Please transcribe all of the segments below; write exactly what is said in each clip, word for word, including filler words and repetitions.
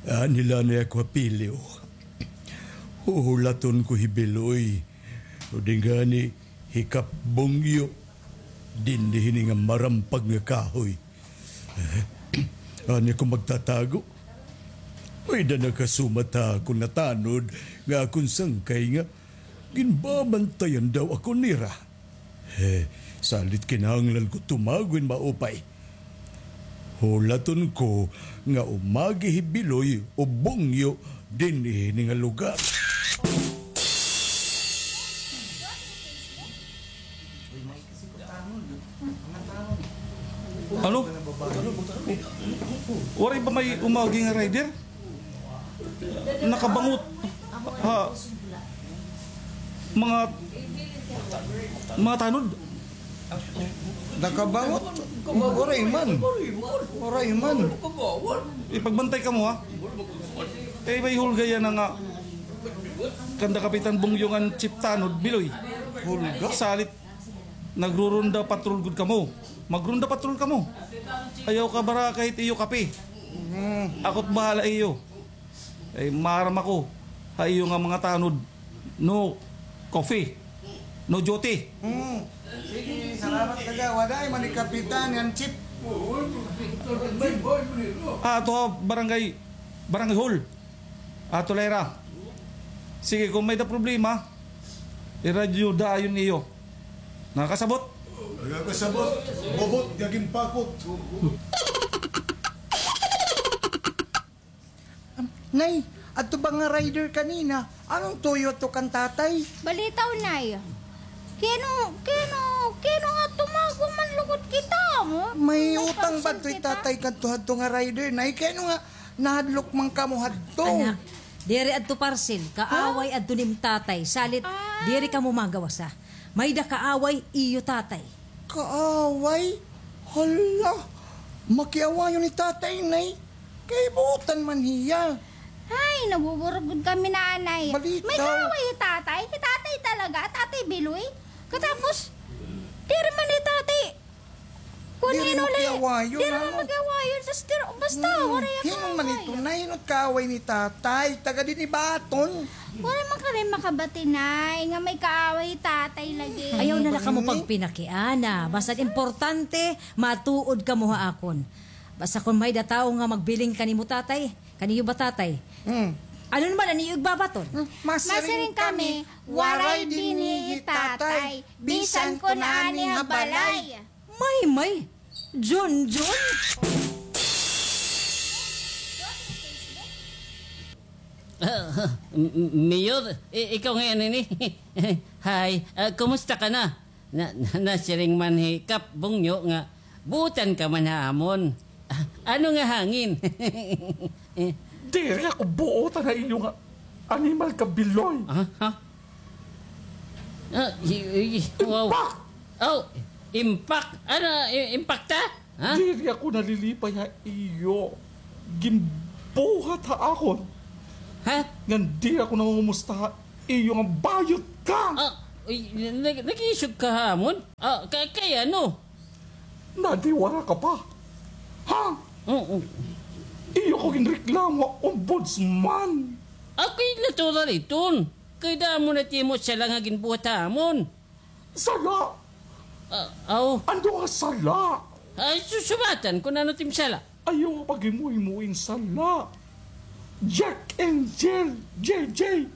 Ani la ini ako ha pilyo. Huhulaton ko hi Biloy. O di ngani hi Kap Bungyo. Dinhi hini nga marampag nga kahoy. Ani ako magtatago. May-ada nakasumat ha akon nga tanod nga akon sangkay nga ginbabantayan daw ako nira. Eh, salit kinahanglan ko tumago hin maupay. Hulaton ko nga umagi hi Biloy o Bungyo dinhi hini nga lugar. Ano? Waray ba may umagi nga rider? Nakabangot. Ha? Mga, mga tanod. Nakabangot? Waray man. Waray man. Ipagbantay kamo, ha? Eh, may hulga yana nga kanda Kapitan Bungyo ngan Chief Tanod, Biloy. Hulga? Salit, nagrurunda patrol gud kamo. Magrunda patrol kamo. Ayaw kabaraka hit iyo kape. Ako't bahala iyo. Ay, maaram ako ha iyo nga mga tanod. No coffee. No duty. Hmm. Sige, salamat, taga. Waray man ni Kapitan ngan Chief. Ah, ato ha barangay, barangay hall. Ato la hira. Sige, kon may-ada problema, iradyo dayon iyo. Nakasabot? Nakasabot. Bubot, gaging pakot. Nay, adto ba nga rider kanina? Ano an tuyo adto kan tatay? Balitaw, Nay. Kay ano, kay ano, kay ano nga tumago man lugod kita, mo? May utang ba adto hi tatay kadto hadto nga rider, Nay? Kay ano nga nahadlok man kamo hadto? Anak, diri adto parcel, kaaway adto nim tatay. Salit, diri kamo magawasa. May-ada kaaway iyo tatay. Kaaway? Hala, makiawayon ni tatay, Nay. Kay buotan man hiya. Ay, nabuburo gud kami, Nanay. Balitaw. May kaaway hi tatay? Hi tatay talaga, Tatay Biloy. Katapos, diri man hi tatay. Kun diri hino la, makiawayon, diri man makiawayon. Basta, waray kaaway. Hin-o man ito, Nay? Hin-o it kaaway ni tatay? Taga dinhi ba aton? Waray man kami makabati, Nay, nga may kaaway hi tatay lagi. Ayaw na la kamo pagpinakiana. Basta importante, matuod kamo ha akon. Basta kon may-ada tawo nga magbiling kanimo, tatay, kaniyo ba, tatay? Hmm. Ano naman an iyo igbabaton? Hmm, masiring kami, waray dinhi hi tatay, bisan kon ani ha balay. May, may. Junjun? Ah, M-, M-, Mayor, i-, ikaw ngay-an ini? Hi, ah, kumusta ka na? Na, na, nasiring man hi Kap Bungyo nga buotan ka man ha amon. Ah, ano nga hangin? Diri ako buotan ha iyo nga animal ka, Biloy. Ah, ha? Ah, i-, i-, wow. Impact! Oh, impact? Ano, i-, impact, ha? Ha? Diri ako nalilipay ha iyo ginbuhat ha akon. Ha? Ngan diri ako nangungumusta ha iyo nga bayot ka. Ah, uy, nag-, nag-iisog ka ha amon? Ah, ka-, kay ano? Nadiwara ka pa? Ha? Oo. Iyo ko ginreklamo ha ombudsman. Ako'y natural iton. Kay damo na it imo sala nga ginbuhat ha amon. Sala? Ah, aw. Ano nga sala? Ah, susubatan kon ano it im sala. Ayaw nga paghimo-himo hin sala. Jack and Jill, J J.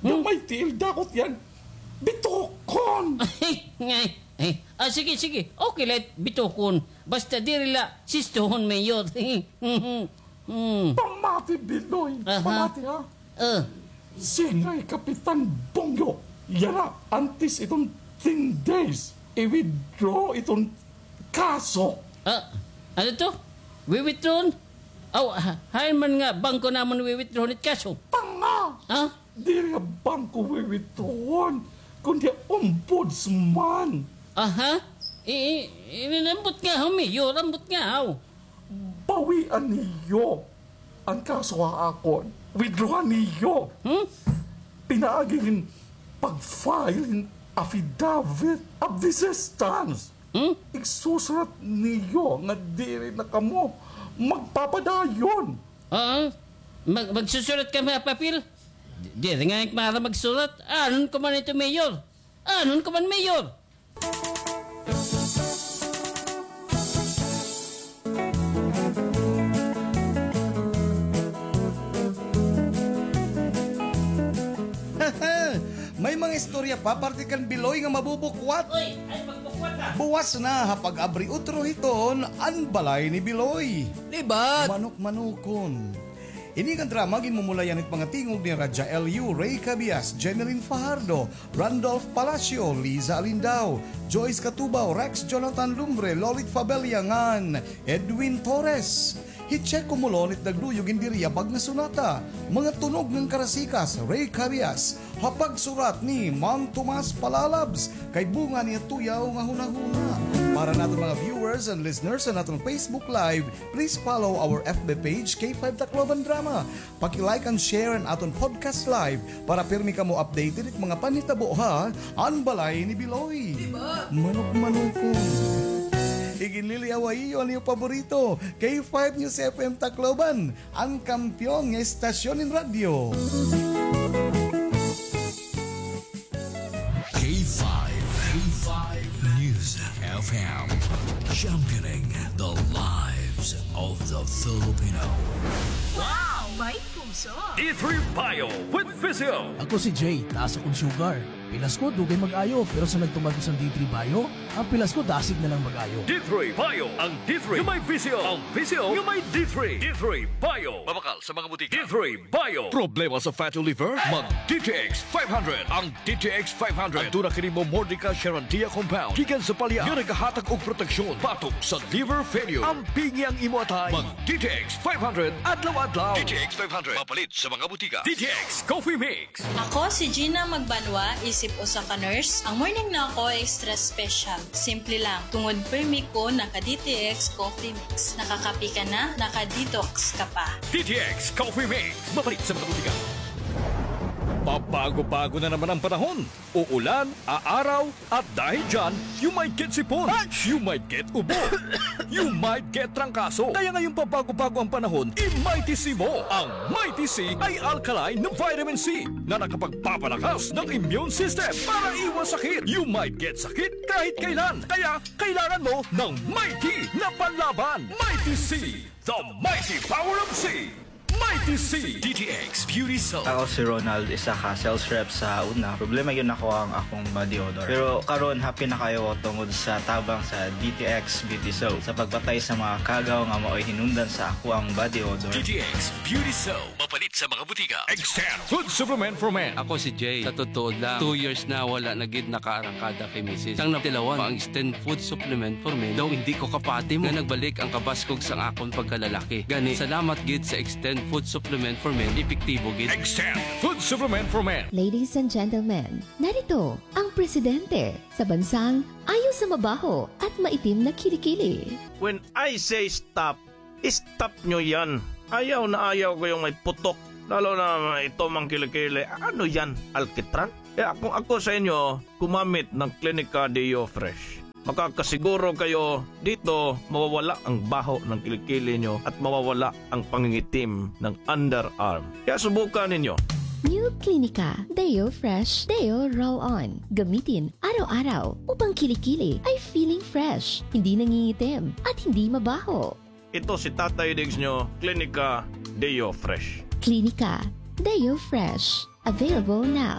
Hmm? Gamay tiil, dakot iyan. Bitokon! Ay, ngay. Ay, ah, sige, sige. Okay la it bitokon. Basta diri la sistohon, Mayor. Hmm. Pamati, Biloy. Aha. Pamati, ha? Ah. Sige, Kapitan Bongyo. Yana, antes iton ten days, i-withdraw iton kaso. Ah, ano to? Wi-withdraw? Aw, ha-, hain man nga bangko namon wi-withdraw it kaso? Tanga! Ha? Diri ha bangko wi-withdraw, kundi ha ombudsman. Aha? I-, i-, i-, ambot nga, Mayor, ambot nga, aw. Bawian niyo an kaso ha akon. Withdrawan niyo. Hmm? Pinaagi hin pag-file hin affidavit of desistance. Hmm? Igsusurat niyo nga diri na kamo magpapadayon. Ah? Mag-, magsusurat kami ha papel? Di, diri ngani ak maaram magsurat. Anuon ko man ito, Mayor? Anuon ko man, Mayor? May mga istorya pa parte kan Biloy nga mabubukwat. Uy, ay, magbukwat na. Buwas na ha Pag-abri Utro hiton an Balay ni Biloy. Libat! Manok-manokon. Ini nga drama ginmumulayan hit mga tingog ni Raja L U, Rey Cabias, Jeneline Fajardo, Randolph Palacio, Liza Alindao, Joyce Catubao, Rex Jonathan Lumbre, Lolit Fabella ngan Edwin Torres. Hi Checo Molon it nagluyo gin diri ha bag nga sonata, Mga Tunog ngan Karasikas, Rey Cabias, ha pagsurat ni Mang Tomas Palalabs, kay bunga niya tuyaw nga hunahuna. Para naton mga viewers and listeners sa naton Facebook Live, please follow our F B page, K five Tacloban Drama. Paki-like and share an aton podcast live para pirmi kamo updated it mga panhitabo ha An Balay ni Biloy. Diba? Manok-manokon. Iginliliaw ha iyo an iyo paborito, K five News F M Tacloban, an kampeon nga estasyon nin radyo. K five, K five News F M, championing the lives of the Filipino. Wow! May puso! D three Bio with Physio. Ako si Jay, taas akon sugar. Pilas ko, dugay mag-ayo, pero sa nagtuman ko sa D three Bio, an pilas ko dasig na lang mag-ayo. D three Bio, ang D three nga may Physio, ang Physio nga may D three. D three Bio. Mabakal sa mga butika. D three Bio. Problema sa fatty liver? Mag D T X five hundred. Ang D T X five hundred. Aduna kini Momordica Charantia compound gikan sa palya nga nagahatag og proteksyon batok sa liver failure. Ampingi ang imo atay. Mag D T X five hundred adlaw-adlaw. D T X five hundred. Mapalit sa mga butika. D T X Coffee Mix. Ako si Gina Magbanwa, isip usa ka nurse. Ang morning na ako extra special. Simple lang. Tungod permi ko naka D T X Coffee Mix. Nakakape ka na, naka-detox ka pa. D T X Coffee Mix. Mapalit sa mga butika. Pabago-bago na naman ang panahon. Uulan, aaraw, at dahil dyan, you might get sipon, you might get ubo, you might get trangkaso. Kaya ngayong pabago-bago ang panahon, i-Mighty C mo. Ang Mighty C ay alkaline na vitamin C na nakapagpapalakas ng immune system para iwas sakit. You might get sakit kahit kailan. Kaya kailangan mo ng Mighty na panlaban. Mighty C, the mighty power of C. Mighty C. D T X Beauty Soap. Ako si Ronald, isa ka sales rep sa una. Problema gyud nako ang akong body odor. Pero karon, happy na kaayo ko tungod sa tabang sa D T X Beauty Soap sa pagpatay sa mga kagaw nga maoy hinungdan sa ako ang body odor. D T X Beauty Soap. Mapalit sa mga butika. Extend Food Supplement for Men. Ako si Jay. Sa totoo lang, two years na wala na gid nakaarangkada kay misis. Sang natilawan pa ang Extend Food Supplement for Men, daw hindi ko kapati mo nga nagbalik ang kabaskog sang akon pagkalalaki. Gani, salamat gid sa Extend Food Supplement for Men, epektibo gid. Extend Food Supplement for Men. Ladies and gentlemen, narito ang presidente sa bansang ayaw sa mabaho at maitim na kilikili. When I say stop, stop nyo yan. Ayaw na ayaw ko yung may putok. Lalo na ito mang kilikili. Ano yan? Alkitran? Kaya kung ako sa inyo, gumamit ng Clinica Deo Fresh. Makakasiguro kayo dito mawawala ang baho ng kilikili nyo at mawawala ang pangingitim ng underarm. Kaya subukan ninyo. New Clinica Deo Fresh Deo Roll On. Gamitin araw-araw upang kilikili ay feeling fresh, hindi nangingitim, at hindi mabaho. Ito si Tatay Diggs nyo, Clinica Deo Fresh. Clinica Deo Fresh. Available now.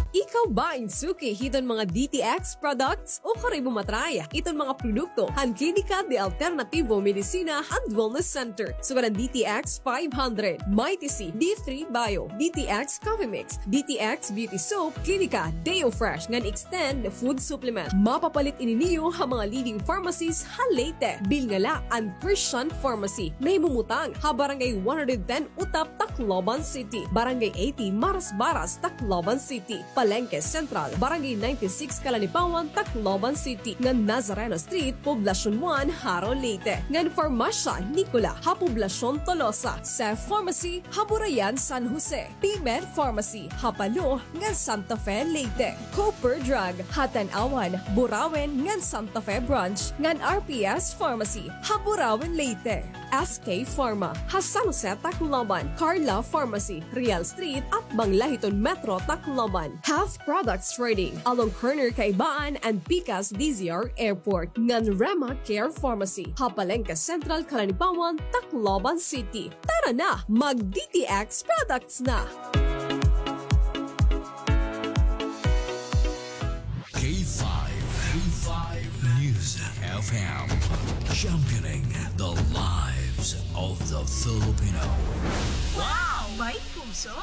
Ikaw ba in suki hiton mga D T X products? O kari mo matry hiton mga produkto han Klinika de Alternativo Medicina and Wellness Center. Sugad an D T X five hundred, Mighty C, D three Bio, D T X Coffee Mix, D T X Beauty Soap, Klinika Deo Fresh ngan Extend Food Supplement. Mapapalit ini niyo ha mga leading pharmacies ha Leyte. Bilngala an Christian Pharmacy. Nahimumutang ha Barangay one hundred ten Utap, Tacloban City, Barangay eighty Marasbaras, Tacloban City, Palengke Central, Barangay ninety-six Calanipawan, Tacloban City, ngan Nazareno Street, Poblacion one, Jaro, Leyte, ngan Farmacia Nicola ha Poblacion Tolosa, Seth Pharmacy ha Burayan, San Jose, P-Med Pharmacy ha Palo ngan Santa Fe, Leyte, Cooper Drug ha Tanauan, Burauen ngan Santa Fe Branch, ngan R P S Pharmacy ha Burauen, Leyte. S K Pharma, ha San Jose, Tacloban, Carla Pharmacy, Real Street, atbang la hiton Metro, Tacloban. Half Products Trading, along corner Kaibaan and Pikas D Z R Airport, ngan Rema Care Pharmacy, ha Palengke Central, Calanipawan, Tacloban City. Tara na, mag D T X products na! K five, K five News F M, championing the lives of the Filipino. Wow! May puso!